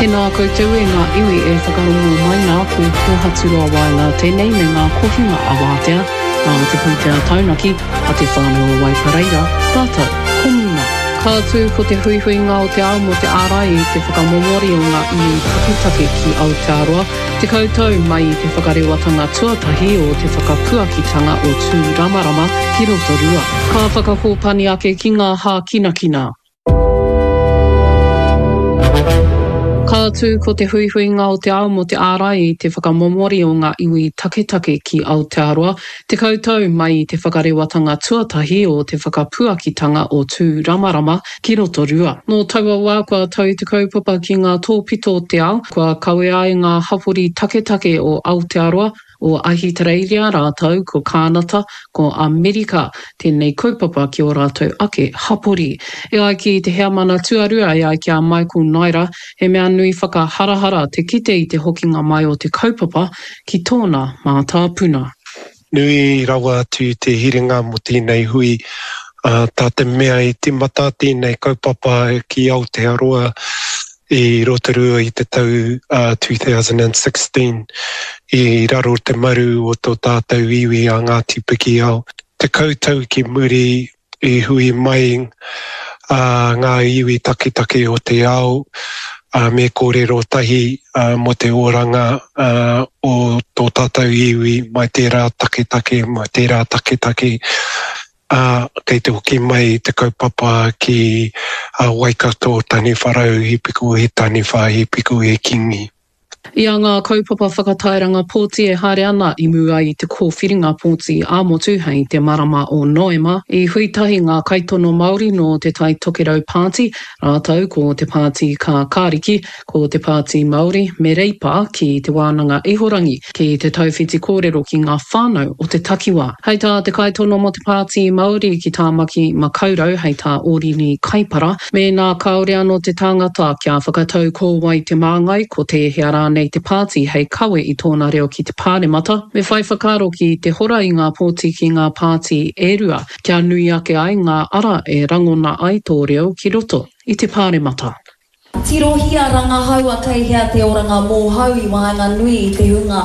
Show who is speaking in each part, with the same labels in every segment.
Speaker 1: Tēnā koutou e ngā iwi e whakarongo mai nā, ko Kōhaturoa Waenga tēnei me ngā kohinga a Wātea, nā te pūtea taunaki a Te Whānau o Waipareira, rātou ko Muna. Ka tū ko te huihuinga o te ao mō te ārai i te whakamomori o ngā iwi taketake ki Aotearoa, 10 tau mai i te whakarewatanga tuatahi o te whakapuakitanga o Tūramarama ki Rotorua. Ka whakakōpani ake ki ngā hākinakina. Ka tū ko te huihuinga o te ao mō te ārai i te whakamomori o ngā iwi taketake ki Aotearoa, 10 tau mai i te whakarewatanga tuatahi o te whakapuakitanga o Tūramarama ki Rotorua. Nō taua wā kua tau te kaupapa ki ngā tōpito o te ao, kua kawea ai ngā hapori taketake o Aotearoa, o Ahitereiria rātou ko Kānata, ko Amerika tēnei kaupapa ki ō rātou ake hapori. E ai ki te heamana tuarua e ai ki a Michael Naira, he mea nui whakaharahara te kite i te hokinga mai o te kaupapa ki tōna mātāpuna.
Speaker 2: Nui rawa atu te hiringa mō tēnei hui, tā te mea i tīmata tēnei kaupapa ki Aotearoa i Rotorua i te tau 2016 i raro te maru o tō tātou iwi a Ngāti Pikiao. 10 tau ki muri i hui mai ngā iwi taketake o te ao me kōrero tahi mō te oranga o tō tātou iwi mai tērā taketake, mai tērā taketake. Ā, kei te hoki mai te kaupapa ki a Waikato, Taniwharau, he piko he taniwha, he piko he kingi.
Speaker 1: I a ngā kaupapa whakatairanga pōti e haere ana i mua i te kōwhiringa pōti ā-motu hei te marama o Noema, i hui tahi ngā kaitono Māori nō Te Tai Tokerau Pāti rātou ko Te Pāti Kākāriki, ko Te Pāti Māori me Reipa ki Te Wānanga Ihorangi ki te tauwhiti kōrero ki ngā whānau o te takiwā. Hei tā te kaitono mō Te Pāti Māori ki Tāmaki Makaurau, hei tā Ōrini Kaipara, mēnā kāore anō te tangata kia whakatau ko wai te māngai, ko tēhea rānei te pāti hei kawe i tōna reo ki te Pāremata, me whai whakaaro ki te hora i ngā pōti ki ngā pāti e rua, kia nui ake ai ngā ara e rangona ai tō reo ki roto i te Pāremata.
Speaker 3: Tirohia rangahaua kei hea te oranga mōhau i waenganui i te hunga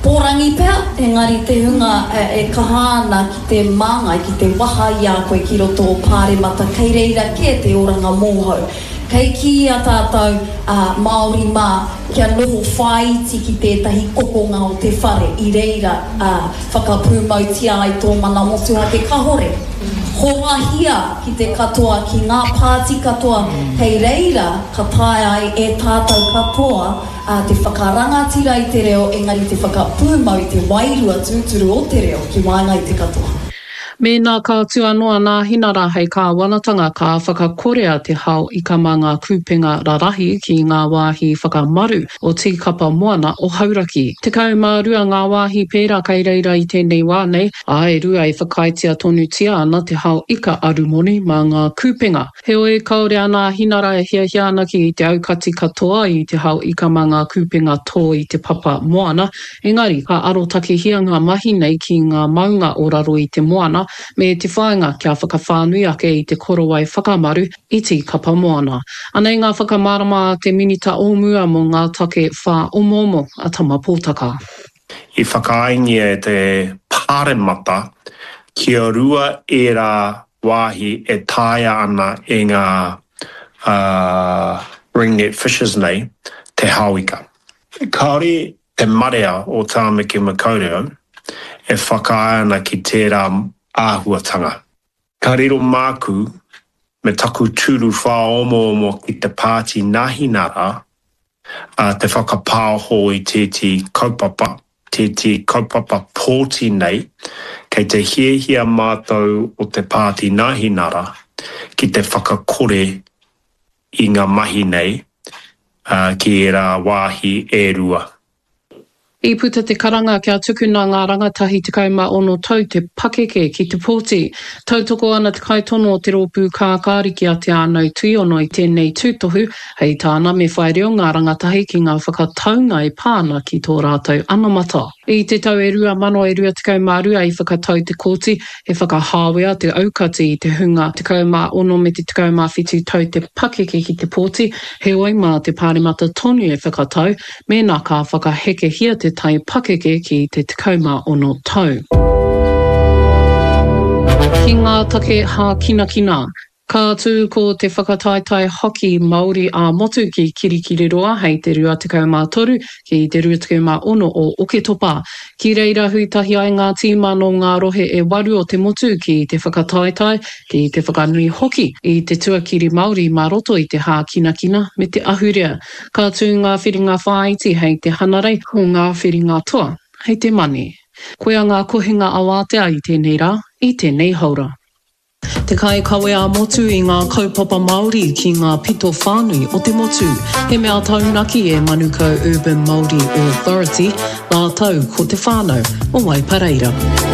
Speaker 3: pōrangi pea, engari te hunga e kaha ana ki te māngai, ki te waha i a koe ki roto o Pāremata, kei reira kē te oranga mōhau. Kei kīia tātou, Māori mā, kia noho whāiti ki tētahi kokonga o te whare, i reira whakapūmautia ai tō mana motuhake kahore. Horahia ki te katoa, ki ngā pāti katoa, kei reira ka taea ai e tātou katoa te whakarangatira i te reo engari te whakapūmau i te wairua tūturu o te reo ki waenga i te katoa.
Speaker 1: Mēnā ka tū anō a Nāhinara hei kāwanatanga ka whakakorea te hao ika mā ngā kūpenga rarahi ki ngā wāhi whakamaru o Tīkapa Moana o Hauraki. 12 ngā wāhi pērā kei reira i tēnei wā nei, ā, e rua e whakaaetia tonutia ana te hao ika arumoni mā ngā kūpenga. Heoi, kāore a Nāhinara e hiahia ana ki te aukati katoa i te hao ika mā ngā kūpenga tō i te papa moana, engari ka arotakehia ngā mahi nei ki ngā maunga o raro i te moana me te whāinga kia whakawhānui ake i te korowai whakamaru i Tīkapa Moana. Anei ngā whakamārama a te Minita o mua mō ngā take whāomoomo a Tama Pōtaka.
Speaker 4: I whakaaengia e te Pāremata kia rua ērā wāhi e taea ana e ngā ringnet fishers nei te hao ika. Kāore te marea o Tāmaki Makaurau e whakaae ana ki tērā āhuatanga. Ka riro māku me taku tūru whāomoomo ki te Pāti Nāhinara te whakapāoho i tētehi kaupapa, tētehi kaupapa pōti nei, kei te hiahia mātou o te Pāti Nāhinara ki te whakakore i ngā mahi nei ki ērā wāhi e rua.
Speaker 1: I puta te karanga kia tukuna ngā rangatahi 16 tau te pakeke ki te pōti. Tautoko ana te kaitono o te rōpū kākāriki a Te Ānau Tuiono i tēnei tūtohu, hei tāna me whai reo ngā rangatahi ki ngā whakataunga e pā ana ki tō rātou anamata. I te tau e 2022 i whakatau te kōti he whakahāwea te aukati i te hunga 16 me te 17 tau te pakeke ki te pōti, heoi mā te Pāremata tonu e whakatau Mēnā ka whakahekehia te tai pakeke ki te 16 tau. Ki ngā take hākinakina. Ka tū ko te whakataetae hockey Māori ā-motu ki Kirikiriroa hei te 23 ki te 26 o Oketopa. Ki reira hui tahi ai ngā tīma nō ngā rohe e waru o te motu ki te whakataetae, ki te whakanui hoki i te tuakiri Māori mā roto i te hākinakina me te ahurea. Ka tū ngā whiringa whāiti hei te Hanarei, ko ngā whiringa toa hei te Mane. Koia ngā kohinga awātea i tēnei rā, i tēnei haora. Te kaikawe ā-motu i ngā kaupapa Māori ki ngā pito whānui o te motu. He mea taunaki e Manukau Urban Māori Authority rātou ko te whānau o Waipareira.